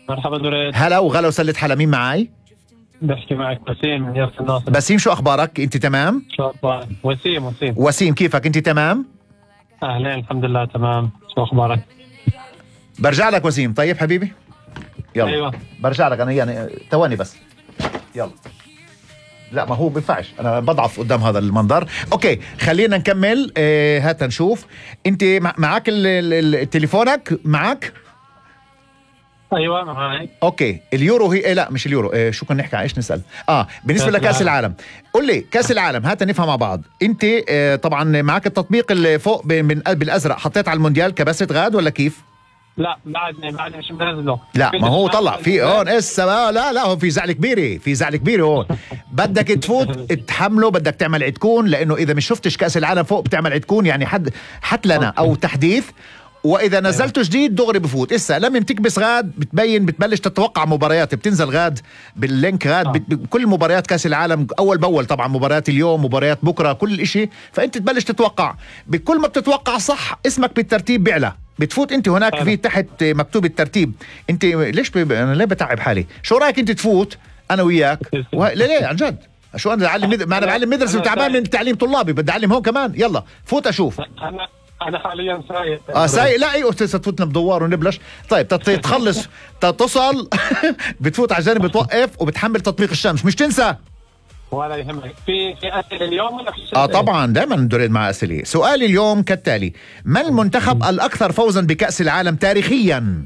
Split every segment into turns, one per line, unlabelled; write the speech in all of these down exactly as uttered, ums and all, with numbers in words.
مرحبا دريد.
هلا وغلا وسلة حلا. مين معاي؟
بحكي معك وسيم من يافا الناصر.
بسيم، شو أخبارك؟ أنت تمام؟
شو أخبارك؟ وسيم وسيم
وسيم كيفك؟ أنت تمام؟
أهلين الحمد لله تمام. شو أخبارك؟
برجع لك وسيم. طيب حبيبي يلا.
أيوة.
برجع لك أنا يعني ثواني بس. يلا. لا ما هو بينفعش، أنا بضعف قدام هذا المنظر. أوكي خلينا نكمل. آه هات نشوف. أنت معك ال ال ال تليفونك معك؟
ايوه معي.
اوكي اليورو هي إيه؟ لا مش اليورو. إيه شو كنا نحكي؟ ايش نسال؟ اه بالنسبه لكاس العالم. قل لي كاس العالم، هات نفهم مع بعض. انت آه طبعا معك التطبيق اللي فوق من بالازرق، حطيت على المونديال كبست غاد ولا كيف؟
لا بعدني بعدني مش منزله.
لا ما هو طلع في هون اسا. لا لا هون في زعل كبيره، في زعل كبيره هون. بدك تفوت تحمله، بدك تعمل عدكون، لانه اذا مش شفتش كاس العالم فوق بتعمل عدكون يعني حد حت لنا او تحديث، واذا نزلته جديد دغري بفوت. اسا لما بتكبس غاد بتبين، بتبلش تتوقع مباريات، بتنزل غاد باللينك غاد بت... كل مباريات كاس العالم اول باول، طبعا مباريات اليوم مباريات بكره كل إشي، فانت تبلش تتوقع. بكل ما بتتوقع صح اسمك بالترتيب بيعلى، بتفوت انت هناك في تحت مكتوب الترتيب. انت ليش ب... انا ليه بتعب حالي؟ شو رايك انت تفوت انا وياك و... ليه ليه عن جد؟ شو انا بعلم مد... ما انا بعلم مدرسه وتعبان من تعليم طلابي، بدي اعلم هون كمان. يلا فوت اشوف.
انا انا حاليا سايق.
اه سايق. لا ايوه تفوتنا بدوار ونبلش. طيب تخلص تتصل بتفوت على الجانب، بتوقف وبتحمل تطبيق الشمس، مش تنسى.
ولا يهمك. في في اسئله اليوم ولا في
اه طبعا دائما ندرد مع اسئله. سؤال اليوم كالتالي: ما المنتخب الاكثر فوزا بكأس العالم تاريخيا؟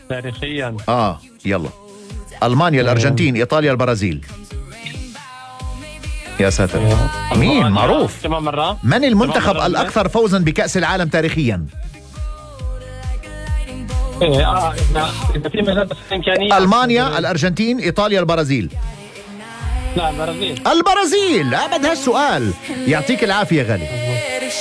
تاريخيا
اه يلا. المانيا، الارجنتين، ايطاليا، البرازيل. يا ساتر. مين معروف؟
كمان مرة.
من المنتخب الأكثر فوزا بكأس العالم تاريخيا؟
إيه آه إذا في مجال بس إمكانية.
ألمانيا، الأرجنتين، إيطاليا، البرازيل.
لا البرازيل.
البرازيل. أبد هالسؤال. يعطيك العافية غالي.